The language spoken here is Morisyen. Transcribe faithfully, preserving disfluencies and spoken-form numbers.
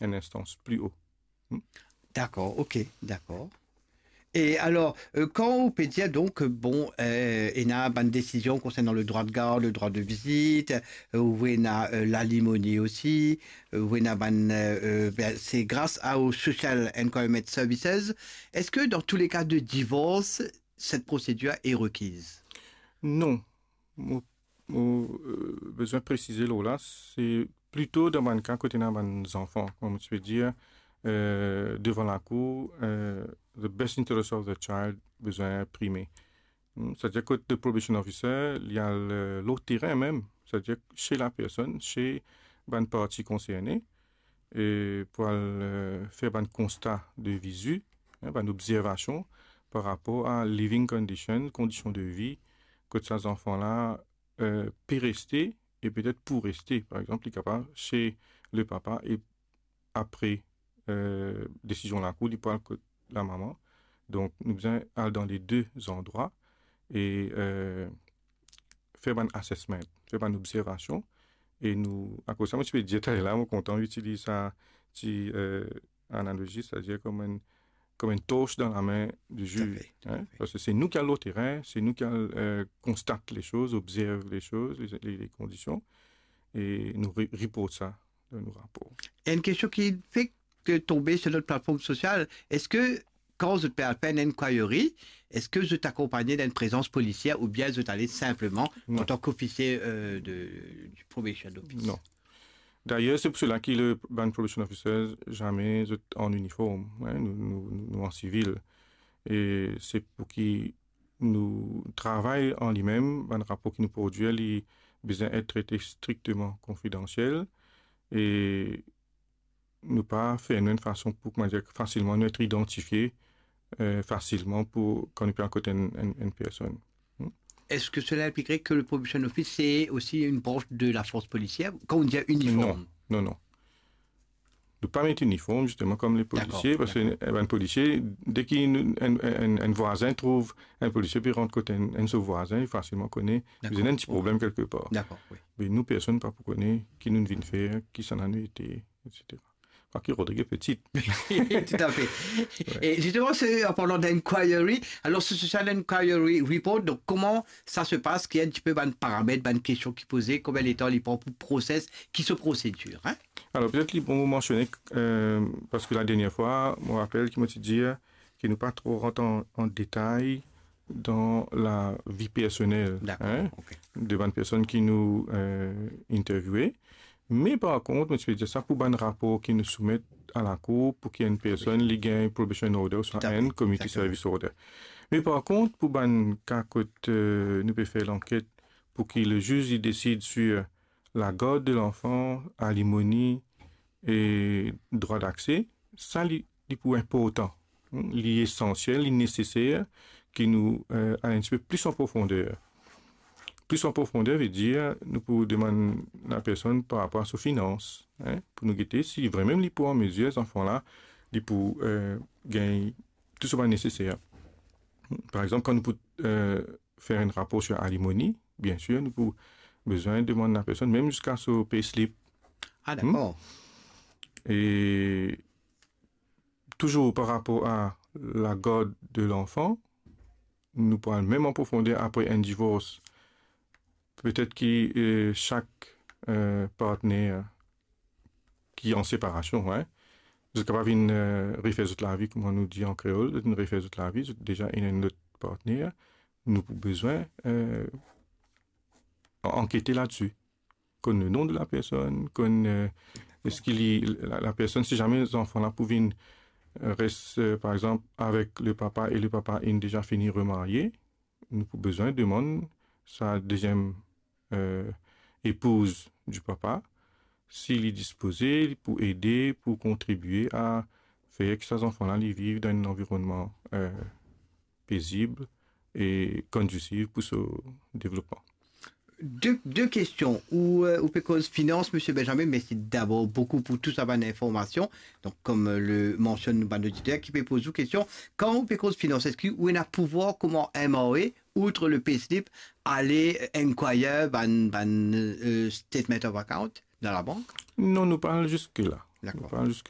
enn instans pli o. Dakor, ok, dakor. E alor, euh, kan ou pe dir donk, bon, euh, ena bann desizion konsernan le droit de garde, le droit de visite, euh, ou ena, euh, l'alimony osi, euh, ou ena bann, euh, euh, ben, se gras a, au Social Enquiry Services. Eski dan tou le ka de divors, cette procédure est requise? Non. Mo, mo, euh, bizin presize lor la, se plito dan bann ka kot ena bann zanfan, kouma mo ti pe dir, euh, devan lakour, euh, the best interest of the child bizin prime. Hmm, savedir kot the probation officer, li al, euh, lor terin mem, savedir se lapersonn, se bann parti konserne, e pou al, euh, fer bann konsta de vizi, hein, bann obzervasion par rapor a living condition, kondision de vi, kot sa zanfan la, euh, pe reste e petet pou reste. Par exanp, li kapav se le papa e apre, euh, desizion lakour, li pou al kot lamama. Donk, nou bizin al dan le de zandrwa e, euh, fer bann assessment, fer bann obzervasion. E nou, akoz sa, mo ti pe dir taler la, mo kontan itiliz sa ti, euh, analozi, savedir kom enn, kom enn tors dan lame di ziz, hein, parski se nou ki al lor terin, se nou ki al, euh, konstat le soz, obzerv le soz, le, le, le kondision, e nou re-, report sa dan nou rapor. Enn kestion ki fek tonbe sur notre plateforme sociale, eski kan zot pe al fer enn inquiry, eski zot akonpagne d'enn prezans polisier oubien zot ale sinpleman antan k'ofisier, euh, de, du probation office? Non. Dayer, se pou sela ki le, bann probation officers, zame zot an iniform, hein, nou, nou, nou, nou an sivil. E se pou ki nou travay an limem, bann rapor ki nou prodwir, li bizin et trete strikteman konfidansiel. E nou pa fer nou enn fason pou, kouma dir, fasilman nou et idantifie, euh, fasilman pou kan nou pe al kot enn, enn, enn personn. Hmm. Est-ce que cela impliquerait que le probation office, c'est aussi une branche de la force policière, quand on dit uniforme? Non, non, non. Nou pa met iniform, zisteman, kom le polisie, parski, eh, bann polisie, deki nou, enn, enn, enn vwazin trouv enn polisie, pe rant kot enn, enn so vwazin, li fasilman kone, bizin ena enn ti problem kelkepar. Dakor, wi. Me nou, personn pa pou kone ki nou vinn fer, kisannla nou ete, et cetera. Kwake Rodrig pe piti. Tout à fait. Ouais. Et justement, c'est en parlant d'inquiry. Alors, ce social inquiry report, donc comment ça se passe? Ki enn tipe bann paramet, bann kestion ki poze, konbien letan li pran pou proses, ki so prosedir, hein? Alor, petet li bon mo mansione, euh, parski la dernie fwa, mo rapel ki mo ti dir ki nou pa tro rant an, an detay dan lavi personel, hein, de bann personn ki nou, euh, interviewe. Me par kont, mo ti pe dir sa pou bann rapor ki nou soumet a lakour pou ki enn personn li gagn probation order ouswa enn community service order. Me par kont, pou bann ka kot, euh, nou pe fer lanket pou ki le ziz li desid sur la garde de l'enfant, alimony e drwa dakse, sa li, li pou inportan. Hmm, li esansiel, li neseser ki nou, euh, al enn tipe plis an profonder. Plis an profonder ve dir nou pou demann lapersonn par rapor a so finans, hein, pou nou gete si vremem li pou an mezir, zanfan la, li pou, euh, gagn tou so bann neseser. Par exanp, kan nou pou, euh, fer enn rapor sur alimony, biensir, nou pou bizin demann lapersonn, mem ziska so payslip. Ah, dakor. E touzour par rapor a la garde de l'enfant, nou pou al mem an profonder apre enn divors. Petet ki, euh, sak, euh, partner ki an separasion, hein, zot kapav vinn, euh, refer zot lavi, kouma nou dir an kreol, zot vinn refer zot lavi, zot deza ena enn lot partner, nou pou bizin, euh, an-, ankete ladsi. Konn le nom de la personne, konn, euh, eski li, la, la personn, si zame zanfan la pou vinn, euh, res, euh, par exanp, avek le papa e le papa inn deza fini remarye, nou pou bizin demann sa deziem, euh, epouz di papa, si li dispoze pou ede, pou kontribie a fer ki sa zanfan la, li viv dan enn lanvironnman, euh, pezib e kondisif pou so devlopman. De, de kestion. Ou, euh, ou pe koz finans, Misie Benjamin, mersi dabor boukou pou tou sa bann informasion. Donk, kom, euh, le mansionn nou bann oditer ki pe poz ou kestion, kan ou pe koz finans, eski ou ena pouvwar kouma M R A, outre le payslip, ale, euh, inquire bann, bann, euh, statement of account dan labank? Non, nou pa al ziska la. Dakor. Nou pa al ziska